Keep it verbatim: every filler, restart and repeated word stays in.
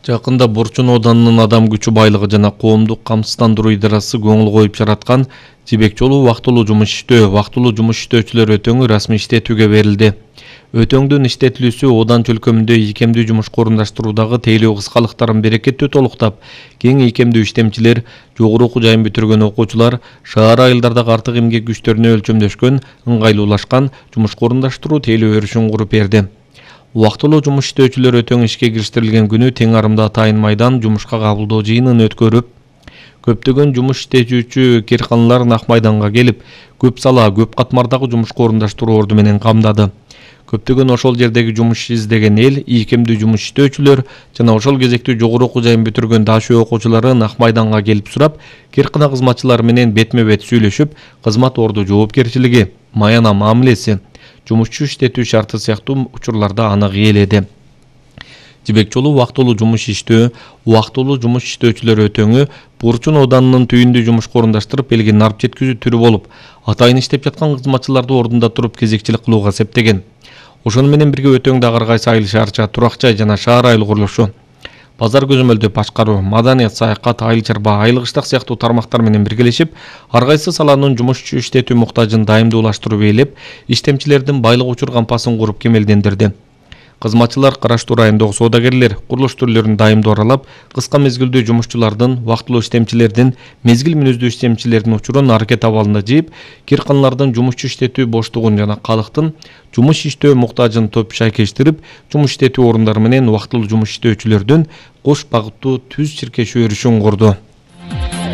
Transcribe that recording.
Жакында Борчон ауданынын адам күчү байлыгы жана коомдук камсыздандыруу идарасы көңүл коюп жараткан жибек жолу убактылуу жумуш иштөө, убактылуу жумуш иштөөчүлөр өтөңү расмий иштетүүгө берилди. Өтөңдүн иштетилүүсү Одан чөлкөмүндө ийкемдүү жумушка орундаштыруудагы тейлөө кыскалыктарын берекеттүү толуктап, кең ийкемдүү иштемчилер, жогору окуу жайын бүтүргөн окуучулар шаар айылдардагы артык эмгек күчтөрүнө өлчөмдөшкөн, ыңгайлуулашкан жумушка орундаштыруу тейлөө өрүшүн куруп берди. Убактылуу жумуш иштөөчүлөр өтөң ишке кириштерилген күнү тең арымда Атайын майдан жумушка кабылдоо жыйынын өткөрүп, көптөгөн жумуш иштечүүчү керканалар Ак майданга келип, көп сала, көп катмардагы жумушка орундаштыруу орду менен камдады. Көптөгөн ошол жердеги жумуш издеген эл, ийкемдүү жумуш иштөөчүлөр жана ошол кезекте жогору окуу жайын бүтүргөн дашөө окуучулары Ак майданга келип сурап, керкана кызматчылары менен бетме-бет сүйлөшүп, кызмат орду жоопкерчилиги, маяна мамилеси, жумушчу иштетүү шарты сыяктуу учурларда анык ээледи. Жибек жолу убактылуу жумуш иштөө, убактылуу жумуш иштөөчүлөр өтөңү Борчон ауданынын түйүндүү жумушка орундаштырып, элге нарп жеткизүү түрү болуп, атайын иштеп жаткан кызматчыларды ордунда туруп кезекчилик кылууга септеген. Ошону менен бирге өтөңдө ар кайсы айыл шаарча, турак жай жана шаар айыл курулушу, базар көзөмөлдөө башкаруу, маданият, саякат, айыл чарба, айыл кыштак сыяктуу тармактар менен биргелешип, ар кайсы саланын жумушчу иштетүү муктажын дайымдуулаштырып ээлеп, иштемчилердин байлык учур кампасын куруп кемелдендирди. Кызматчылар караштуу райондогу соодагерлер, курулуш түрлөрүн дайымдуу аралап, кыска мезгилдүү жумушчулардын, убактылуу иштемчилердин, мезгил мүнөздүү иштемчилердин учурун аракет абалында жыйып, керканалардын жумушчу иштетүү боштугун жана калктын жумуш иштөө муктажын топ шайкештирип, жумуш иштетүү орундары менен убактылуу жумуш иштөөчүлөрдүн кош багыттуу түз чиркешүү өрүшүн курду.